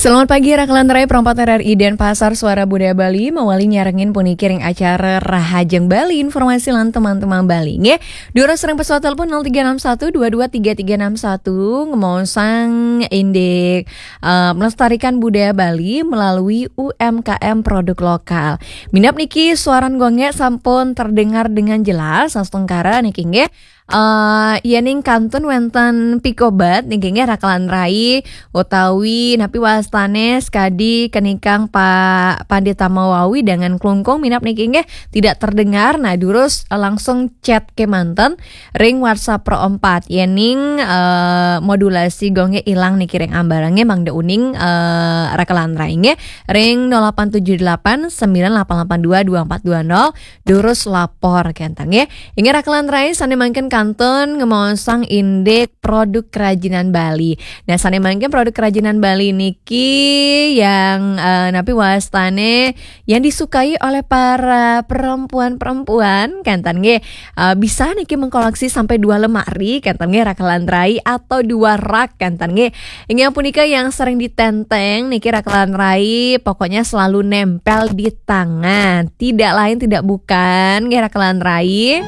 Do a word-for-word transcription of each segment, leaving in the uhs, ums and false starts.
Selamat pagi, Rakalan Rai, perempat R R I Denpasar, Suara Budaya Bali, mawali nyarengin puniki ring acara Rahajeng Bali, informasi lan teman-teman Bali. Nggih, durus ring pesawat telepon nol tiga enam satu dua dua tiga tiga enam satu, ngemaosang indik, eh, melestarikan budaya Bali melalui U M K M produk lokal. Minab niki suaran gongnya sampun terdengar dengan jelas, astungkara niki nggih. Eh, yening kantun wenten pikobat niki nggih Rakalan Rai utawi napi wastane sekadi kenikang Pak Pandita Mawawi dengan klungkung minab niki nggih tidak terdengar. Nah, durus langsung chat kemanten ring WhatsApp Pro empat. Yening, eh, modulasi gongnya ilang niki ring ambarange mangda uning, eh, Rakalan Rai nggih ring nol delapan tujuh delapan sembilan delapan delapan dua dua empat dua nol. Durus lapor kenten nggih. Inggih Rakalan Rai sane mangkin kantun ngemaosang indik produk kerajinan Bali. Nah, sane mangkin produk kerajinan Bali niki yang, eh, napi wastane yang disukai oleh para perempuan-perempuan kenten nggih. Eh, bisa niki mengkoleksi sampai dua lemari kenten nggih Rakalan Rai atau dua rak kenten nggih. Inggih punika yang sering ditenteng niki Rakalan Rai, pokoknya selalu nempel di tangan. Tidak lain tidak bukan nggih Rakalan Rai.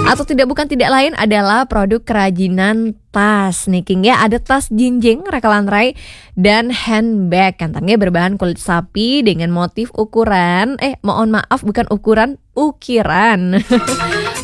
Atau tidak bukan tidak lain adalah produk kerajinan tas niki nggih. Ada tas jinjing Rakalan Rai dan handbag kenten nggih berbahan kulit sapi dengan motif ukuran, eh, mohon maaf, bukan ukuran, ukiran.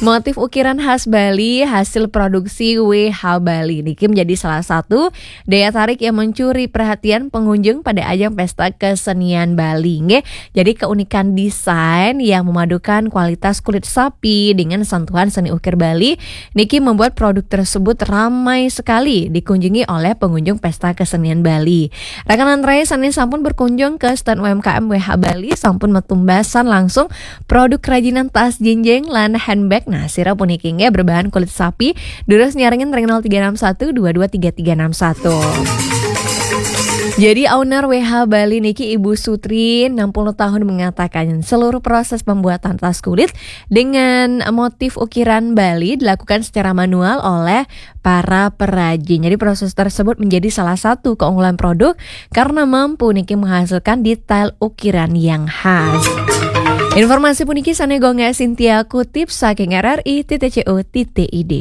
Motif ukiran khas Bali hasil produksi W H Bali niki menjadi salah satu daya tarik yang mencuri perhatian pengunjung pada ajang pesta kesenian Bali nggih. Jadi keunikan desain yang memadukan kualitas kulit sapi dengan sentuhan seni ukir Bali niki membuat produk tersebut ramai sekali dikunjungi oleh pengunjung pesta kesenian Bali. Rakalan Rai sane sampun berkunjung ke stand U M K M W H Bali sampun metumbasan langsung produk kerajinan tas jinjing lan handbag. Nah, sira puniki nggih berbahan kulit sapi. Durus nyarengin ring nol tiga enam satu dua dua tiga tiga enam satu. Jadi owner W H Bali niki Ibu Sutri enam puluh tahun mengatakan seluruh proses pembuatan tas kulit dengan motif ukiran Bali dilakukan secara manual oleh para perajin. Jadi proses tersebut menjadi salah satu keunggulan produk karena mampu niki menghasilkan detail ukiran yang khas. Informasi puniki sane gongnya Cynthia kutip saking R R I titik C O titik I D.